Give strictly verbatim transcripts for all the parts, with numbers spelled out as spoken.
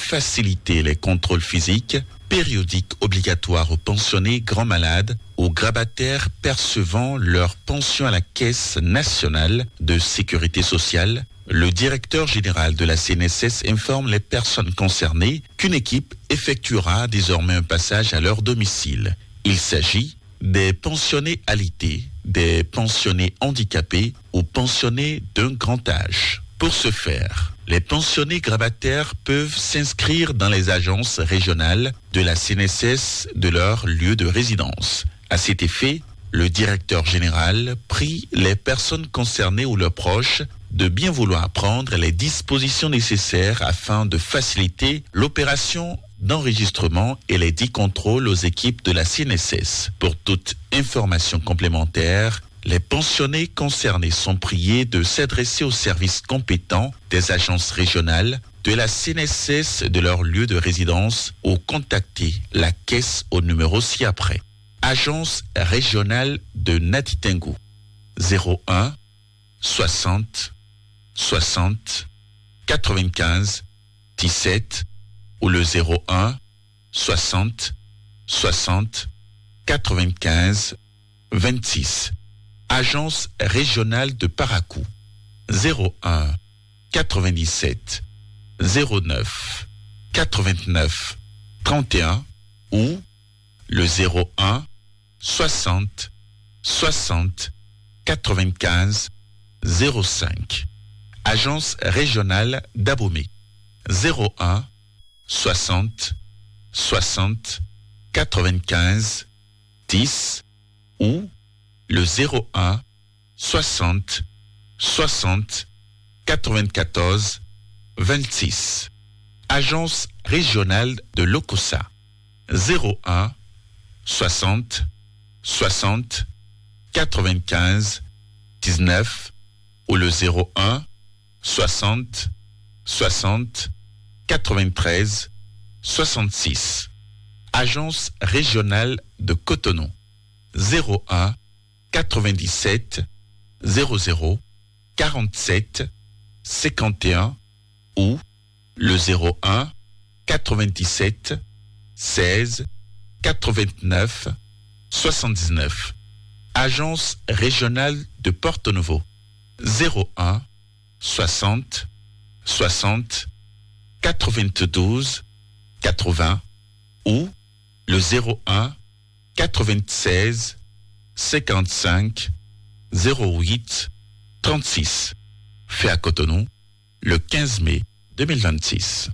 faciliter les contrôles physiques périodiques obligatoires aux pensionnés grands malades, aux grabataires percevant leur pension à la Caisse nationale de sécurité sociale, le directeur général de la C N S S informe les personnes concernées qu'une équipe effectuera désormais un passage à leur domicile. Il s'agit des pensionnés alité, des pensionnés handicapés ou pensionnés d'un grand âge. Pour ce faire, les pensionnés grabataires peuvent s'inscrire dans les agences régionales de la C N S S de leur lieu de résidence. À cet effet, le directeur général prie les personnes concernées ou leurs proches de bien vouloir prendre les dispositions nécessaires afin de faciliter l'opération d'enregistrement et les dix contrôles aux équipes de la C N S S. Pour toute information complémentaire, les pensionnés concernés sont priés de s'adresser aux services compétents des agences régionales de la C N S S de leur lieu de résidence ou contacter la caisse au numéro ci-après. Agence régionale de Natitengo, zéro un, soixante, soixante, quatre-vingt-quinze, dix-sept ou le zéro un, soixante, soixante, quatre-vingt-quinze, vingt-six. Agence régionale de Parakou, zéro un, quatre-vingt-dix-sept, zéro neuf, quatre-vingt-neuf, trente et un ou le zéro un, soixante, soixante, quatre-vingt-quinze, zéro cinq. Agence régionale d'Abomey, zéro un, soixante, soixante, quatre-vingt-quinze, dix ou le zéro un, soixante, soixante, quatre-vingt-quatorze, vingt-six. Agence régionale de l'Okosa, zéro un, soixante, soixante, quatre-vingt-quinze, dix-neuf ou le zéro un, soixante, soixante, quatre-vingt-treize, soixante-six. Agence régionale de Cotonou, zéro un, quatre-vingt-dix-sept, zéro zéro, quarante-sept, cinquante et un ou le zéro un, quatre-vingt-dix-sept, seize, quatre-vingt-neuf, soixante-dix-neuf. Agence régionale de Porto Novo, zéro un, soixante, soixante, quatre-vingt-douze, quatre-vingts ou le zéro un, quatre-vingt-seize, cinquante-cinq, zéro huit, trente-six. Fait à Cotonou, le quinze mai deux mille vingt-six.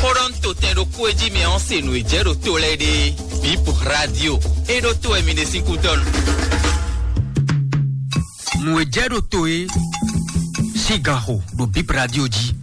Xó ɖɔ nú totɛn ɖokpó e jí mi ɔ́ se nǔ e jɛ ɖo to lɛ́ɛ ɖe. Bip Radio. É ɖó to wɛ mi ɖe sín kútɔ́ nu. Nǔ e jɛ ɖo to e sín gan xo ɖo Bip Radio jí.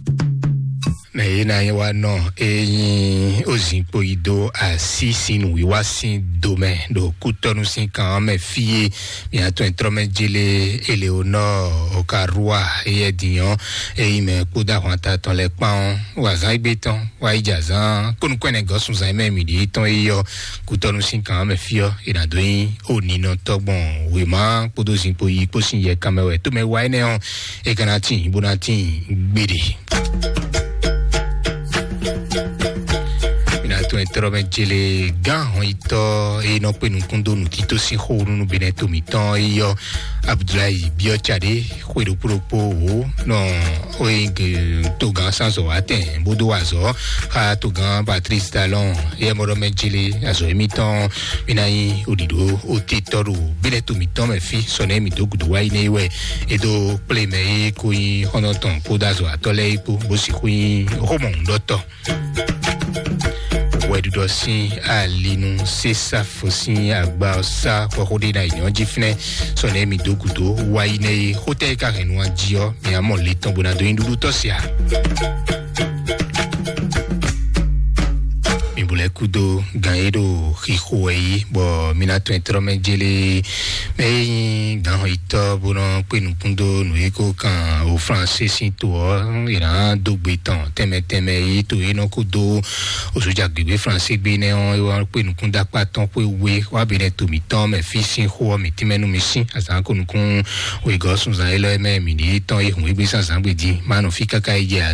Mɛ e ná nyí wa nɔ e nyí ozínkpo yi dó así sín nǔwiwa sín do mɛ ɖo kútɔ́nú sín kan ɔ́ mɛ fí e mia tɔn e trɔ́ mɛ jélé Eleonɔ Okarua eyɛ din ɔ́, e nyí mɛ kpódó ahwanta tɔn lɛ́ɛ kpán ɔ́, wa zán égbé tɔn, wa yi jɛ azán kpónúkpɛ́nɛ gɔ́ sunzan e mɛ mǐ ɖe tɔn e yɔ kútɔ́nú sín kan ɔ́ mɛ fí ɔ́, è nǎ dó nyí oninɔtɔ́ gbɔn wěma kpódó zinkpo yi kpó sín yɛ kanmɛ wɛ tómɛ wa énɛ́ ɔ́, é ka ná tíin bó ná tíin gbeɖe. Mǐ ná tɔn e tlɔ́ mɛ jele gán hɔnyitɔ́ e nɔ kpé nukún dó nǔtító sín xó nú nú Benɛto mǐtɔn e yɔ Abudulayi Biɔcaɖe xwe ɖokpó ɖokpó wǒ nɔ oyin togán sanzɔ wá tɛn bó dó azɔ xa togán Patrice Talon yɛ mɔɖɔ mɛ jele azɔ émítɔn. Mǐ ná nyí oɖiɖo otetɔ ɖo Benɛto mǐtɔn mɛ fí sɔnɛ mǐ dó gǔdo wá yi nɛ wɛ é dó kplé mɛ é kó nyí xɔnɔtɔn kpódó azɔ atɔ́ lɛ́ɛ é kpó bó sixú nyí xɔmɔ̌húnɖɔtɔ́. Wɛɖuɖɔ sín alinu sésafo sín agba ɔ́ sá xɔxó ɖé ná nyɔ́ jí fínɛ́ sɔnɛ mǐ dó gǔdo wá yi nɛ é xótɛ́ é ka hɛn nu jí ɔ́, mǐ á mɔ le tɔn bó ná dó nyí ɖuɖu tɔ́ sia. Mǐ bu lɛ́ kúdó gan e ɖo xixo wɛ yí bɔ mǐ ná tɔn e tlɔ́ mɛ jélé mɛ e nyí gǎnhɔnyitɔ́ bó nɔ kpé nukún dó nǔ e ko kan o Flansé sín to ɔ́, è nǎ dó gbe tɔn tɛnmɛ tɛnmɛ e to e nɔ ko dó o sójà gběgbé Flansé gbé nɛ́ ɔ́, é wá kpé nukún dó akpá tɔn xwé we wá bǐ nɛ́ to mǐtɔn mɛ fí sín xó ɔ́ mǐ tínmɛ nú mi sín azǎn ko nukún wegɔ́ sunzan élɔ́ mɛ mǐ ɖíe tɔn e hǔn égbé sín azǎn gbe din má nɔ fí káká yi jɛ azǎn.